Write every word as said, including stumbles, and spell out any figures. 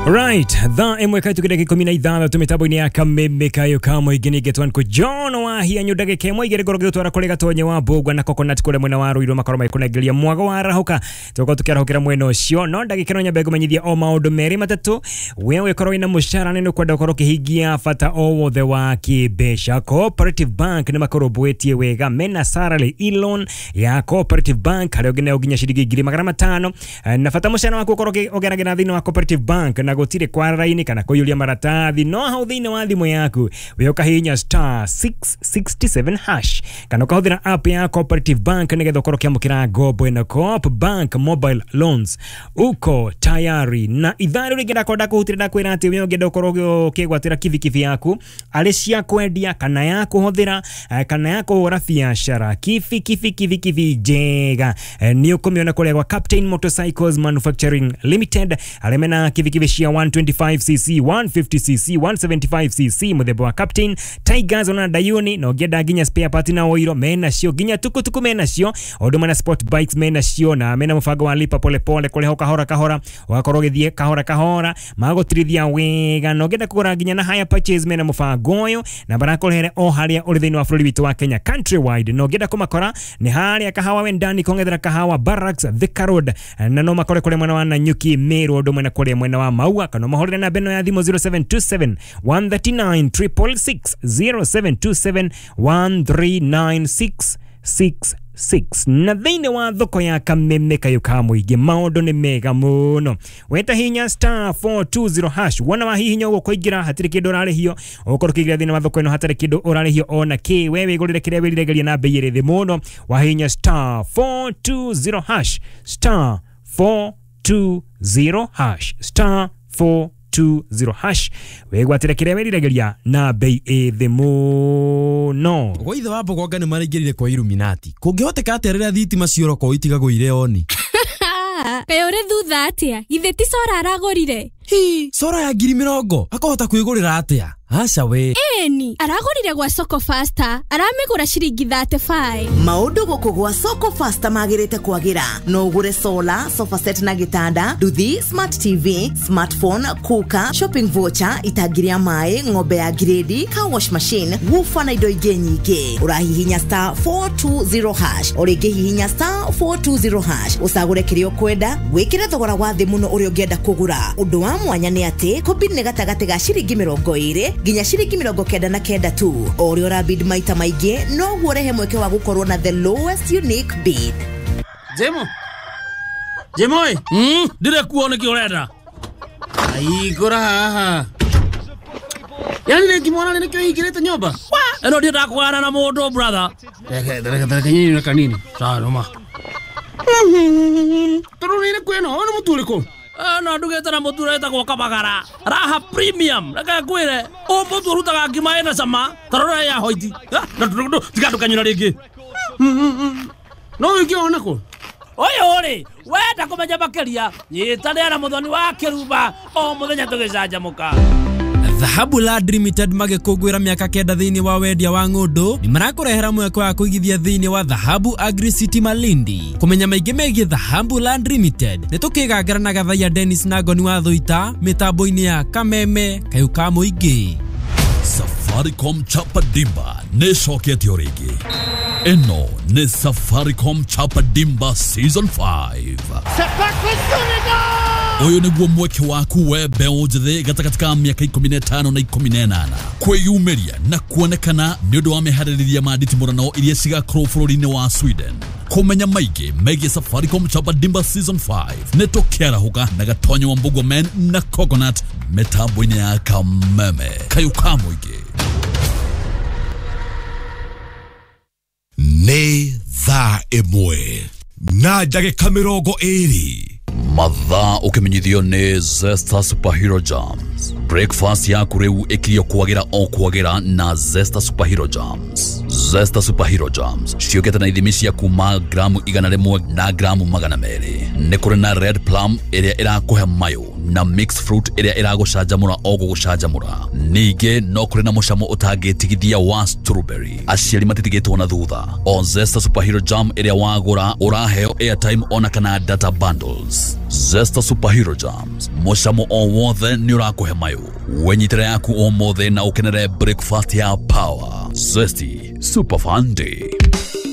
Right, thaa ĩmwe kaĩtũkĩre ndagĩka ikũmi na ithathatũ mĩtambo-inĩ ya Kameme Kayo ka mũingĩ nĩ Getwan kũ John Wahianyũ ndagĩka ĩmwe igĩrĩ ngorwo ngĩgũtwara kũrĩ Gatonye wa Mbũgua na Coconut kũrĩa mwena wa Ruiru makorwo magĩkũnengeria mwago wa arahũka tũkorwo tũkĩarahũkĩra mwena ũcio. No ndagĩka ĩno nyambe ngũmenyithia o maũndũ merĩ matatũ. We ũgĩkorwo wĩna mũcara nĩ ũkwenda ũkorwo ũkĩhingia bata o wothe wa kĩmbeca, Cooperative Bank nĩ makũrũmbũĩtie wega. Mena salary e-loan ya Cooperative Bank harĩa ũngĩneo nginya ciringi ngiri magana matano, na bata mũcara waku ũkorwo ũgeragĩra thĩinĩ wa Cooperative Bank na gũtirĩ kwara raini kana kũiyũria maratathi. No hau thĩinĩ wa thimũ yaku we ũkahihinya star six six seven hash kana ũkahũthĩra app ya Cooperative Bank nĩgetha ũkorwo ũkĩamũkĩra ngombo ĩno. Coop Bank Mobile Loans, uko tayari. Na ithaa rĩu rĩngĩ ndakorwo ndakũhutĩra, ndakwĩra atĩ we ũngĩenda ũkorwo ũkĩgwatĩra kibikibi yaku arĩ cia kwendia kana ya kũhũthĩra eh, kana ya kũhũra biacara, kibi kibi kibi kibi njega eh, nĩ ũkũmĩona kũrĩa gwa Captain Motorcycles Manufacturing Limited, arĩa mena kibikibi cia one twenty-five C C, one fifty C C, one seventy-five C C, mũthemba wa Captain Tigers ona Dayuni. Na ũngĩenda nginya spare part na oiro mena cio, nginya tukutuku mena cio, o ũndũ mena sport bikes mena cio, na mena mũbango wa lipa pole pole, kũrĩha kahora kahora, ũgakorwo ũgĩthiĩ kahora kahora, magũtirithia wega. Na ũngĩenda kũgũra nginya na hire purchase mena mũbango ũyũ na marakũrehere o harĩa ũrĩ thĩinĩ wa bũrũri witũ wa Kenya, countrywide. Na ũngĩenda kũmakora nĩ harĩa Kahawa Wendani kongethera Kahawa Barracks, Thika Road, na no makore kũrĩa mwena wa Nanyuki, Meru, ũndũ mwena kũrĩa mwena wa Maua, kana mahũrĩre namba ĩno ya thimũ zero seven two seven one three nine six six six, zero seven two seven one three nine six six six. Na thĩinĩ wa thoko ya Kameme Kayo ka mũingĩ maũndũ nĩ mega mũno. Weta hinya star four two zero hash, wona wahihinya ũguo kũingĩra hatirĩ kĩndũ ũrarĩhio. Ũkorwo ũkĩingĩra thĩinĩ wa thoko ĩno hatarĩ kĩndũ ũrarĩhio ona kĩ. We wĩgũrĩre kĩrĩa wĩriragĩria na bei ĩrĩ thĩ mũno wahihinya star four two zero hash, star four two zero hash, star four two zero hash, wĩgwatĩre kĩrĩa wĩriragĩria na bei ĩ thĩ mũno. Gwa ithe wa Mbogonga nĩ maraingĩrire kwa Illuminati. Kũngĩhoteka atĩa rĩrĩa thitima ciora kwao itigagwo irĩ oni? Kaĩ ũrĩ thutha atĩa? Githĩ ti solar aragũrire? Hi, solar ya ngiri mĩrongo akahota kwĩgũrĩra atĩa? Aca we. Ĩni aragũrire gwa Soko Faster, aramĩgũra ciringi thirty-five. Maũndũ gũkũ gwa Soko Faster magĩrĩte kwagĩra. No ũgũre solar, sofa set na gĩtanda, nduthi, smart T V, smartphone, cooker, shopping voucher, itangi rĩa maĩ, ng'ombe ya grade, car wash machine, woofer na indo ingĩ nyingĩ. Ũrahihinya star four two zero hash, o rĩngĩ hihinya star four two zero hash, ũcagũre kĩrĩa ũkwenda, wĩkĩre thogora wa thĩ mũno ũrĩa ũngĩenda kũgũra. Ũndũ wa mwanya nĩ atĩ kũbid nĩ gatagatĩ ga ciringi mĩrongo ĩrĩ nginya ciringi mĩrongo kenda na kenda tu. O ũrĩa ũrabid maita maingĩ noguo ũrehe mweke wa gũkorwo na the lowest unique bid. Jemo. Jemo ĩ. Mm, ndire kuo nĩkĩ ũrenda? Aigũra haha. Yani rĩngĩ mwana nĩkĩo hingĩrĩte nyũmba? Ĩno ndiendaga kũgana na mũndũ, brother. Reke reke reke nyinyi na kanini. Sawa noma. Tondũ nĩ kwĩno, ũyũ nĩ mũtu ũrĩkũ? No ndugĩte na mũtu ũretagwo Kabagara Raha Premium. Reke ngwĩre, ũyũ mũtu ũrutaga ngima ĩna cama ta rora ya hoiti. Tiga ndũkanyũra rĩngĩ. No wĩke ona kũ? Ũyũ rĩ, wenda kũmenya makĩria, nyitanĩra na Mũthoni wa Kĩrumba o mũthenya tũgĩcanjamũka. Dhahabu Land Limited magĩkũngũĩra mĩaka kenda thĩinĩ wa wendia wa ng'ũndũ nĩ marakũrehera mweke wa kũigithia thĩinĩ wa Dhahabu Agri City Malindi. Kũmenya maingĩ megiĩ Dhahabu Land Limited nĩ tũkĩgangara na Gathaiya Dennis na Ngoni wa Thũita mĩtambo-inĩ ya Kameme Kayũ ka Mũingĩ. Safaricom Chapa Dimba nĩ ĩcoketio rĩngĩ. Ĩno nĩ Safaricom Chapa Dimba Season five. Ũyũ nĩguo mweke waku we mbeũ njĩthĩ gatagatĩ ka mĩaka ikũmi na ĩtano na ikũmi na ĩnana kwĩyumĩria na kuonekana nĩ ũndũ wa meharĩrĩria ma nditimũrano iria cigakorwo bũrũri-inĩ wa Sweden. Kũmenya maingĩ megiĩ Safaricom Chapa Dimba Season five nĩ tũkĩarahũka na Gatonyo wa Mbũgua Men na Coconut mĩtambo-inĩ ya Kameme Kayũ ka Mũingĩ. Nĩ thaa ĩmwe na ndagĩka mĩrongo ĩrĩ. Mathaa ũkĩmenyithio nĩ Zesta Superhero Jams. Breakfast yaku rĩu ĩkirio kwagĩra o kwagĩra na Zesta Superhero Jams. Zesta Superhero Jams ciũkĩte na ithimi cia kuma gramu igana rĩmwe na gramu magana merĩ. Nĩ kũrĩ na red plum ĩrĩa ĩrakũhe mayũ. Na mixed fruit ĩrĩa ĩragũcanjamũra o gũgũcanjamũra. Ningĩ no kũrĩ na mũcamo ũtangĩtigithia wa strawberry. Aciari matitigĩtwo na thutha. O Zesta Superhero Jam ĩrĩa wagũra ũraheo airtime ona kana data bundles. Zesta Superhero Jams, mũcamo o wothe nĩ ũrakũhe mayũ. Wenyitĩre yaku ũmũthĩ na ũkenere breakfast ya power. Zesty Super Fun Day.